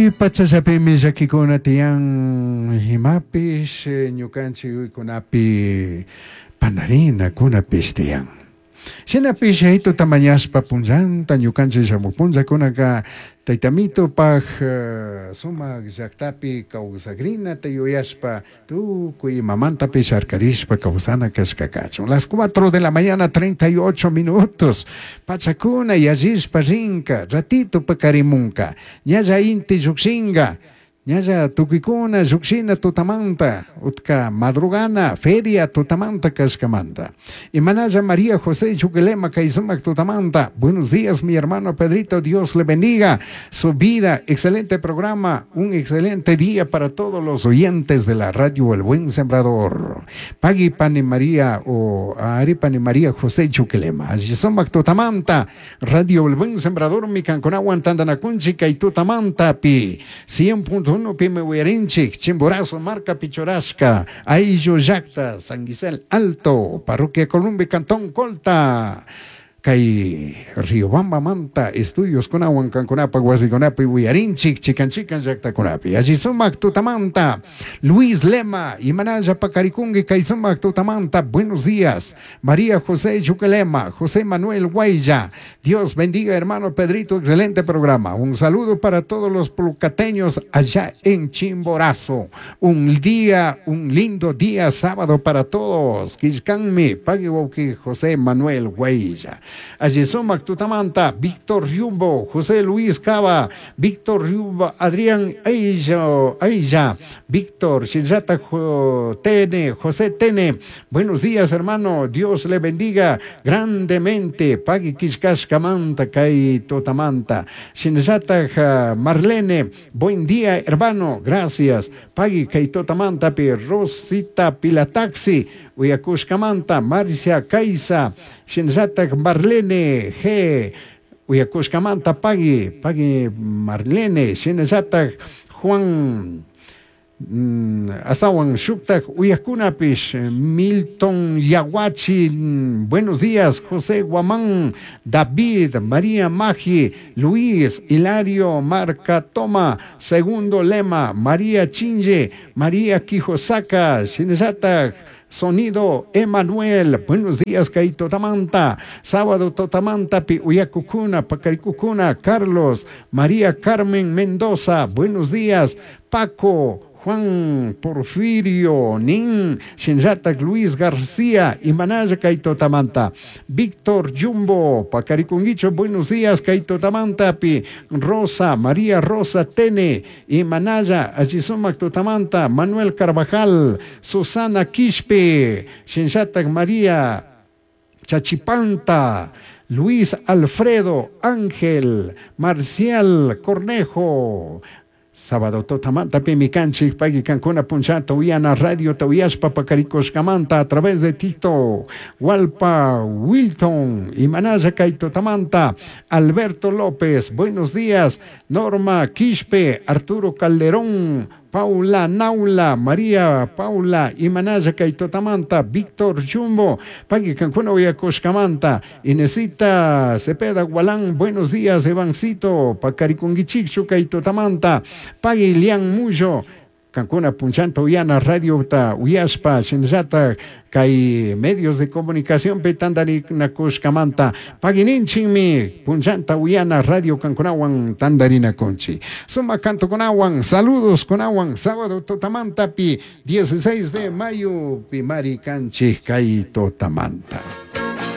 Kay pachallapimi llakikuna tiyan imapish ñukanchik yuykunapi pandarinakunapish tiyan. Shinapish Yayaituta mañashpa punllanta ñukanchik shamuj punllakunaka Taytamitupak sumak llaktapi kawsakrinata yuyashpa tukuy imamantapish harkarishpa kawsana kashka kachun. Las 4 de la mañana 38 minutos pachakuna yallishpa rinka ratito pakarimunka ñalla inti llukshinka ñalla tukuykuna llukshina tutamanta utka madrugana feria tutamanta kashkamanta. Imanalla María José Chuquilema kay sumak tutamanta. Buenos días mi hermano Pedrito, Dios le bendiga su vida. Excelente programa, un excelente día para todos los oyentes de la radio El Buen Sembrador. Pagui Pani María o Ari Pani María José Chuquilema. Alli sumak tutamanta, Radio El Buen Sembrador mi kankunawan tantanakunchik kay tutamanta pi 100.1 pimi uyarinchik Chimborazo marka pichurashka Ayllu llakta San Gisel Alto Parroquia Columbia Cantón Colta kay Riobambamanta estudios kunawan kankunapak wasikunapi uyarinchik chikan chikan llaktakunapi alli sumak tutamanta Luis Lema imanalla pakarikunki kay sumak tutamanta buenos días María José Chuquelema José Manuel Guaya Dios bendiga hermano Pedrito excelente programa un saludo para todos los plucateños allá en Chimborazo un día un lindo día sábado para todos Quillcanmi pagui wawki José Manuel Guaya Alli sumak tutamanta Víctor Riumbo José Luis Cava Víctor Riumbo Adrián Ailla Ailla Víctor Shinllata Tene José Tene buenos días hermano Dios le bendiga grandemente pagui killkashkamanta kay tutamanta Shinllata Marlene buen día hermano gracias pagui kay tutamantapi Rosita Pilataxi uyakushkamanta Marcia Kaisa shinallatak Marlene G uyakushkamanta pagui pagui Marlene shinallatak Juan astawan shuktak uyakunapish Milton Yaguachi buenos días José Guamán David María Magi Luis Hilario Marcatoma Segundo Lema María Chinche María Quijosaka shinallatak Sonido Emanuel, buenos días kay tutamanta, sábado tutamantapi uyakukuna, pakarikukuna, Carlos, María Carmen Mendoza, buenos días, Paco, Juan Porfirio, Nin, Shinllatak Luis García, Imanalla kay tutamanta, Víctor Jumbo, Pacarikunguicho, buenos días, kay tutamantapi, Rosa, María Rosa Tene, Imanalla, alli sumak tutamanta, Manuel Carvajal, Susana Quispe, Shinllatak María Chachipanta, Luis Alfredo Ángel, Marcial Cornejo, Sábado tutamanta pimi kanchik pagui kankuna punchata uyana radio uyashpa pakarikushkamanta a través de Tito Walpa Wilton Imanalla kay tutamanta Alberto López buenos días Norma Quispe Arturo Calderón Paula Naula, María Paula, Imanalla kay tutamanta, Víctor Jumbo, pagui kankuna uyakushkamanta, Inesita Cepeda Gualán, buenos días, Evancito, Pacarikunguichikchu kay tutamanta, pagui Lian Muyo, kankuna punchanta uyana radio ta uyashpa shinallata kay medios de comunicación pi tandarinakushkamanta paguininchikmi punchanta uyana radio kankunawan tandarinakunchik sumak cantokunawan saludos kunawan sábado tutamantapi 16 de mayo pi mari kanchik kay tutamanta.